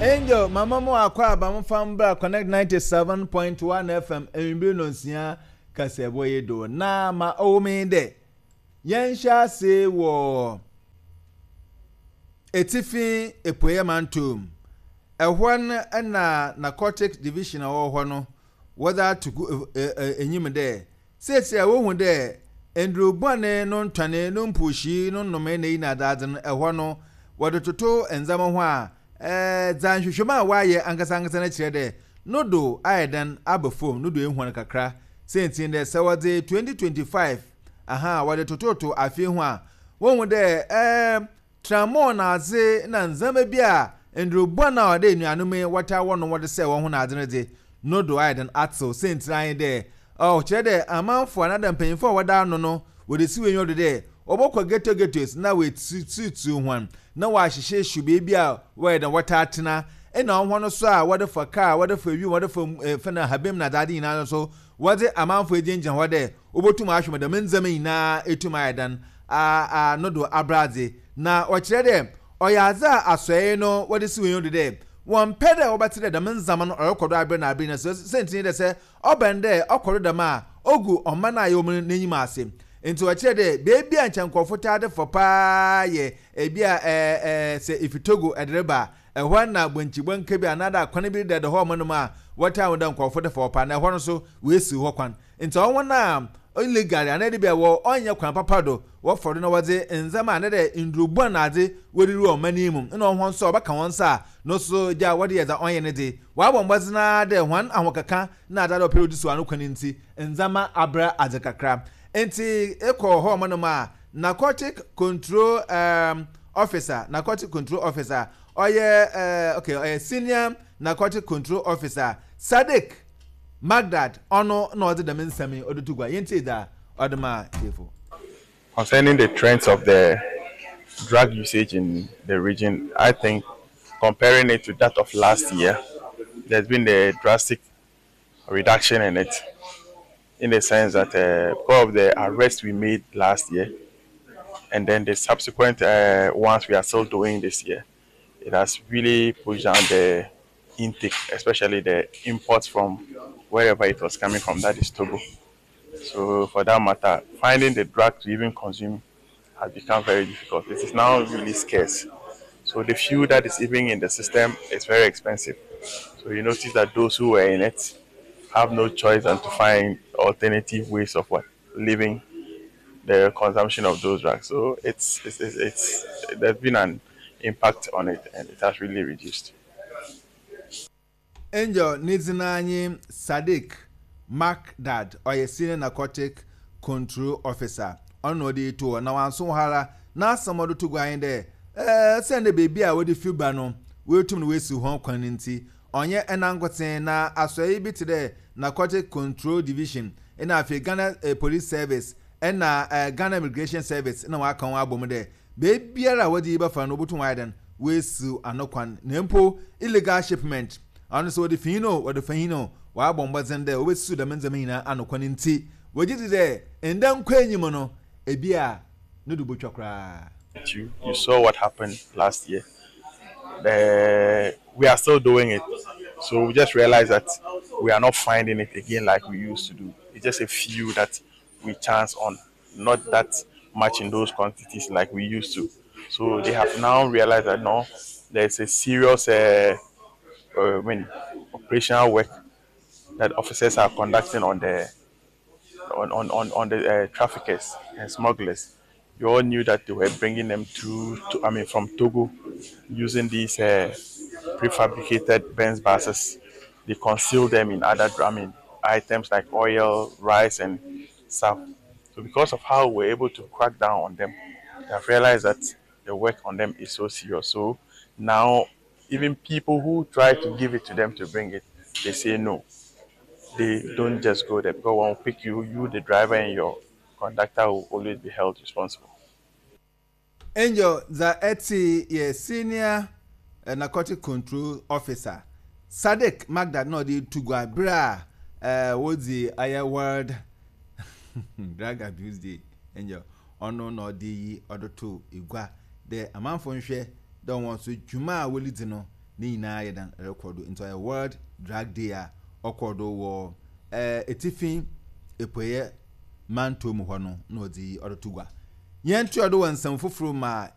Angel, mama mo akɔ aba mo fa mbra Connect 97.1 FM ewimbir nonsia kaseɛbɔ yi do. Na ma ɔwɔ mu nye dɛ, yɛnhyɛ ase wɔ Etsifi Epueɛ Mantɔw mu. Ɛhɔ no na Narcotics Division a ɔwɔ hɔ no wɔdze ato gu enyim dɛ Sesei a wohu dɛ ndur bɔn no ntɔnee, no mpuhii, no nnomee na iyi na adze no, hɔ no, wɔdze toto ndzɛmba ho a, dza nhwehwɛmu a wɔayɛ ankasankasa no kyerɛ dɛ no do ayɛ dɛn aba famu, no do ehuan kakra. Siantsir nye dɛ, sɛ wɔdze 2025 aha wɔdze tototo afe yi ho a, wohu dɛ Trammɔɔ na adze na ndzɛmba bi a ndur bɔn a ɔda enuanom yi wɔtaa wɔnom wɔdze sɛɛ hɔnho na adze no dze, no do ayɛ dɛn atsew. Siantsir ara nye dɛ, ɔkyerɛ dɛ amamfo anaadɛ mpanyimfo a wɔda ano no wɔdze si hɔn enyiwa do dɛ wɔbɔkɔ ghetto ghettos na woetutuutu hɔn na wɔahyehyeehyew beebi a wɔyɛ dɛn wɔtaa tsena. Nna hɔn so a wɔdze fa kaar, wɔdze fa wimu, wɔdze fa fɛn ahaban mu na adze adze nyina no so wɔdze amamfo egyinagyina hɔ dɛ Wobotum ahwɛ ma dɛm ndzɛmba yi nyina etum ayɛ dan a no do abradze, na ɔkyerɛ dɛ ɔyɛ adze a asɔɛe no wɔdze si hɔn enyiwa do dɛ wɔmmpɛ dɛ wɔbɛtse dɛ dɛm ndzɛmba no ɔrokɔ do aber na aber nyina. Siantsir nye dɛ sɛ ɔba no dɛ ɔkɔ do dɛm a, ogu ɔman a yɛwɔ mu no n'enyim ase. Ntsi ɔkyerɛ dɛ beebi a nkyɛ nkorɔfo taa de fa paa yɛ bi a sɛ ifi Togo dze reba a, ɛhɔ na bɔnkyibɔnka bi anaadɛ akwan bi deda hɔ nom a wɔtaa hu dɛ nkorɔfo de fa hɔ paa, na ɛhɔ no so woesiw hɔ kwan. Ntsi hɔn a illegally anaa dɛ bi a wɔ ɔnnyɛ kwan papa do wɔfa do na wɔdze ndzɛmba anaa dɛ ndur bɔn na adze wɔdze wura ɔman yi mu nna hɔn so a wɔbɛka hɔn nsa a no so gya wɔdze yɛ dza ɔnnyɛ ne dze. Wɔabɔ mbɔdzen ara dɛ hɔn ahokeka na adze a wɔpɛ dɛ wɔdze siw ano kwan ntsi ndzɛmba abra adze kakra. Ntsi ekɔ hɔ nom a Narcotic Control um Officer, Narcotic Control Officer, ɔyɛ eh okay ɔyɛ Senior Narcotic Control Officer Sadiq Magdad, ɔno na ɔdze dɛm nsɛm yi ɔdze to gua. Yɛntsie dza ɔdze maa tsiefo. Concerning the trends of the drug usage in the region, I think comparing it to that of last year, there's been a drastic reduction in it, in the sense that uh, because of the arrest we made last year, and then the subsequent uh, ones we are still doing this year, it has really pushed down the intake, especially the imports from wherever it was coming from, that is Togo. So for that matter, finding the drug to even consume has become very difficult. It is now really scarce. So the few that is even in the system is very expensive. So you notice that those who were in it have no choice than to find alternative ways of what living the consumption of those drugs. So it's, it's, it's, it's there's been an impact on it and it has really reduced. Angel ne dzin ara nye Sadiq Makdad, ɔyɛ Senior Narcotic Control Officer. Ɔno na ɔdze iyi too hɔ, na ɔannso hɔ ara, n'asɛm a ɔdze to gua nye dɛ, Osiandɛ beebi a wɔdze fi ba no woetum na woesiw hɔn kwan no ntsi, ɔnnyɛ nankotsee na asɔɛe bi tse dɛ Narcotic Control Division na afei Ghana Police Service na Ghana Immigration Service na wɔaka hɔn abɔ mu dɛ Beebiara a wɔdze iyi bɛfa no wobotum wɔayɛ dɛn woesiw ano kwan na mpo illegal shipment ɔno sɛ wɔdze fi hen o wɔdze fa hen o wɔabɔ mbɔdzen dɛ wobesiw dɛm ndzɛmba nyina ano kwan ntsi wɔgye dzi dɛ nda nkɔenyim no bi a no do botwa koraa. You you saw what happened last year the we are still doing it so we just realize that we are not finding it again like we used to do it's just a few that we chance on not that much in those quantities like we used to. So they have now realized that no, there's a serious uh, uh, I mean, operational work that officers are conducting on the on, on, on, on the uh, traffickers and smugglers. You all knew that they were bringing them through, to, I mean, from Togo using these uh, prefabricated Benz buses. They conceal them in other, I mean, items like oil, rice, and stuff. So because of how we're able to crack down on them, they have realized that the work on them is so serious. So now even people who try to give it to them to bring it, they say no. They don't just go there because when we pick you, you the driver and your conductor will always be held responsible. Angel dza etsee yɛ Senior Narcotic Control Officer Sadiq Magdad na ɔdze to gua ber a wodzi ɔyɛ World Drug Abuse Day. Angel ɔno na ɔdze iyi ɔdze too gua dɛ amanfo nhwɛ dɛ hɔn so dwuma a woridzi no. Ne nyinaa yɛ dan rekɔ do. Nti ɔyɛ World Drug Day a ɔkɔɔ do wɔ Etsifi Epueɛ Mantɔw mu hɔ no na ɔdze yi ɔroto gua. Yɛntoa do wɔ nsɛm fofor mu a.